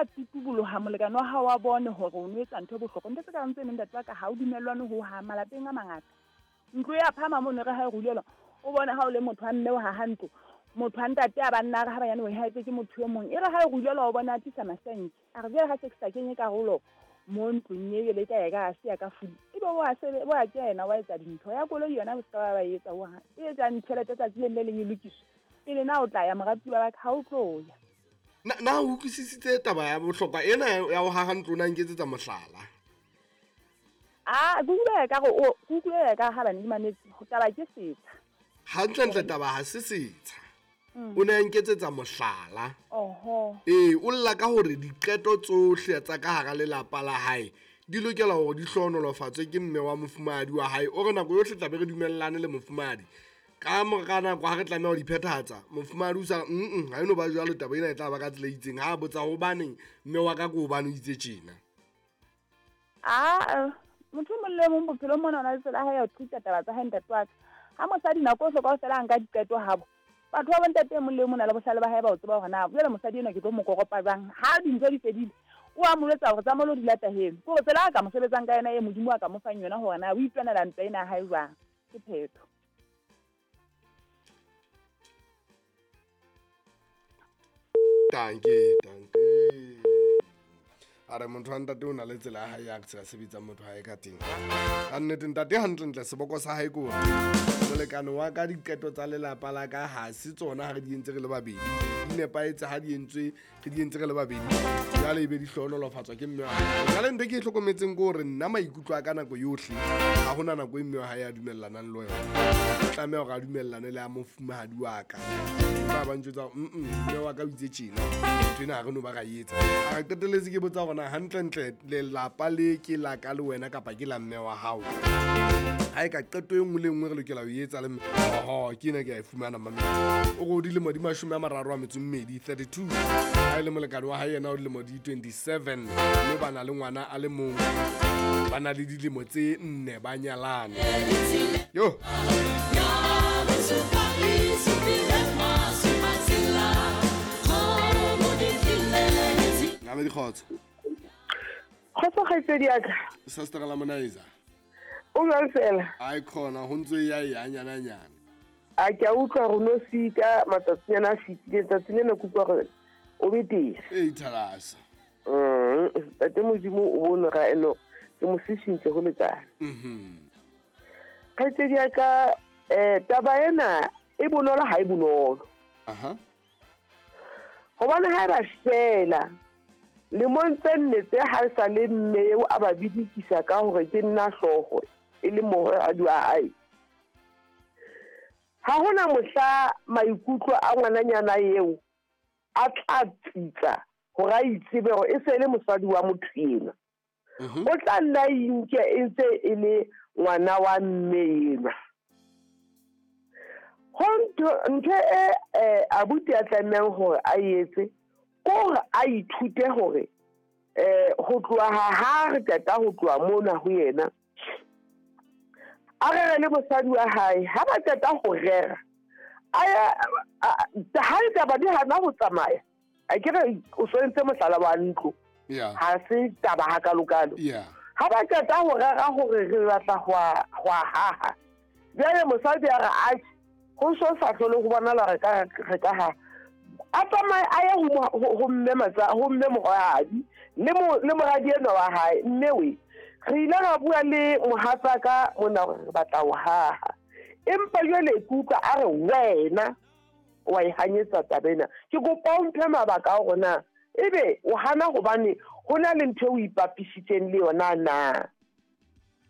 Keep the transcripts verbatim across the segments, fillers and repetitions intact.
tla tutuboloha molekane wa hao wa bone hore o no etsa ntho e bohlokwa. Ntho tse ka reng tse neng ntate wa ka ha o dumellwane ho ha malapeng a mangata. Ntlo ya phama mono re ha e rulelwa o bone ha o le motho wa mme o haha ntlo, motho wa ntate a banna re ha banyane o e haetse ke motho e mong. E re ha e rulelwa o bona a tlisa masenke. A re jwale ha se ke sa kenye karolo mo ntlong e jwale e tla ya ka se ya ka fuli. Ebe o a sebe o a kena wa etsa dintho ya koloi yona o se ka ba ba etsa ho ha. E etsang tjhelete tsatsi le le leng e lokiswe. Pele na o tla ya moratuwa wa ka ha o tlo ya. Na na o utlwisisitse taba ya bohlokwa ena ya ho haha ntlo na nketsetsa mohlala? Ah, ke utlwile ka re o ke utlwile ka ha bane di mametse taba ke setsha. Hantlentle taba ha se setsha. Mm. O ne a nketsetsa mohlala. Oho. Ee, o lla ka hore diqeto tsohle tsa ka hara lelapa la hae di lokela hore di hlohonolofatswe ke mme wa mofumahadi wa hae. O re nako yohle tla be re dumellane le mofumahadi. Ka mora nako ha re tlameha ho di phethahatsa, mofumahadi o sa mm ha eno ba jwalo taba ena e tla ba ka tsela e itseng. Ha a botsa hobaneng mme wa ka ke hobane o itse tjena. Ah, motho e mong le mong bophelong mona o na le tsela ya hae ya ho treat-a taba tsa hae ntate wa ka. Ha mosadi nako yohle kaofela a nka diqeto habo. Batho ba bontate e mong le mong o na le bohlale ba hae ba ho tseba hore na jwale mosadi enwa ke tlo mo koropa jwang. Ha dintho di fedile, o a mo jwetsa hore tsamaya o lo dula taheno. Ke hore tsela a ka mo sebetsang ka yona e Modimo a ka mo fang yona hore na o itwanela ntwa ena ya hae jwang. Ke phetho. Dankie, dankie. A re motho wa ntate o na le tsela ya hae ya tsela sebetsang motho hae ka teng. Ka nnete ntate hantlentle seboko sa hae ke hore molekane wa ka diqeto tsa lelapa la ka ha se tsona ha re di entse re le babedi. Di nepahetse ha di entswe re di entse re le babedi. Jwale ebe di hlohonolofatswa ke mme wa hae. Jwale ntho e ke e hlokometseng ke hore nna maikutlo a ka nako yohle ha hona nako e mme wa hae a dumellanang le yona. O tlameha hore a dumellane le a mofumahadi wa ka. Ba ba ntjwetsa hore, mm, mme wa ka o itse tjena, ntho ena ha re no ba ra e etsa. A re qetelletse ke botsa hore na hantlentle lelapa le ke la ka le wena kapa ke la mme wa hao. Ha e ka qeto e nngwe le nngwe re lokela ho e etsa le mme. Oho, ke ena ke a e fumana mame. O re o dilemo di mashome a mararo a metso e mmedi, thirty-two. Ha e le molekane wa hae yena o dilemo di twenty-seven. Mme ba na le ngwana a le mong. Ba na le dilemo tse nne ba nyalane. Yo. Ngame dikgotso. Kgotso kgaitsedi ya ka. Sister la Monaiza. O jwang fela? Ai khona ho ntse ya ya nyana nyana. A ke a utlwa hore no sika matsatsinyana a fetileng, tsatsi lena ke utlwa hore o betere. Ee, thalasa. Mm, ntate Modimo o bone ga eno ke mo sešintse ho lekana. Mhm. Kgaitsedi ya ka, eh, taba ena e bonolo ha e bonolo. Aha. Hobane ha e ba fela lemong tse nne tse ha e sa le mme eo a ba bidikisa ka hore ke nna hlooho e le mohadi wa hae. Ha hona mohla maikutlo a ngwananyana eo a tla tsitsa hore a itsebe hore e se le mosadi wa motho enwa. Mhm. O tla nna inke e ntse e le ngwana wa mme enwa. Ho ntho, ntho e, eh, abuti a tlamehang hore a etse ke hore a ithute hore, eh, ho tloha ha ha re qeta ho tloha mona ho yena, a rere le mosadi wa hae. Ha ba qeta ho rera, a ya, a, a, ha ditaba di hana ho tsamaya, a ke re o so entse mohlala wa ntlo. Yeah. Ha se taba hakalokalo. Yeah. Ha ba qeta ho rera hore re batla ho a, ho a haha, jwale mosadi a re, atjhe, ho so sa hlole ho bonala re ka, re ka ha. A tsamaye a ye ho mo-, ho, ho mme matsa, ho mme moradi, le mo-, le moradi enwa wa hae. Mme we, re ile ra bua le mohatsaka mona hore re batla ho haha. Empa jwale ke utlwa a re wena wa e hanyetsa taba ena. Ke kopa o mphe mabaka a hore na ebe o hana hobane ho na le ntho eo o ipapisitseng le yona na?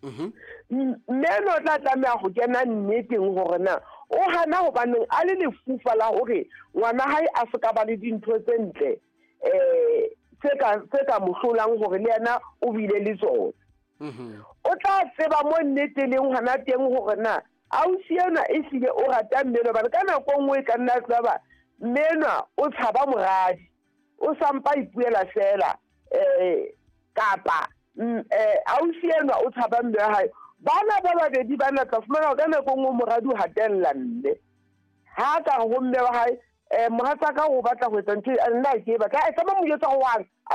Mhm. M-, mme eno o tla tlameha ho kena nneteng hore na o hana hobaneng a le lefufa la hore ngwana hae a se ka ba le dintho tse ntle, eh, tse ka, tse ka mo hlolang hore le yena o bile le tsona. Mhm. O tla tseba mo nnete leng hona teng hore na ausi enwa ehlile o rata mme enwa, hobane ka nako e nngwe e ka nna tla ba mme enwa o tshaba moradi, o sampa ipuela fela, eh, kapa, mm, eh, ausi enwa o tshaba mme wa hae. Bana ba babedi bana tla fumana hore ka nako e nngwe moradi o hatella mme. Ha ka re ho mme wa hae, eh, mohatsaka o batla ho etsa ntho e, nna ha ke e batla. Eh, tsamaya mo jwetsa hore wa re, a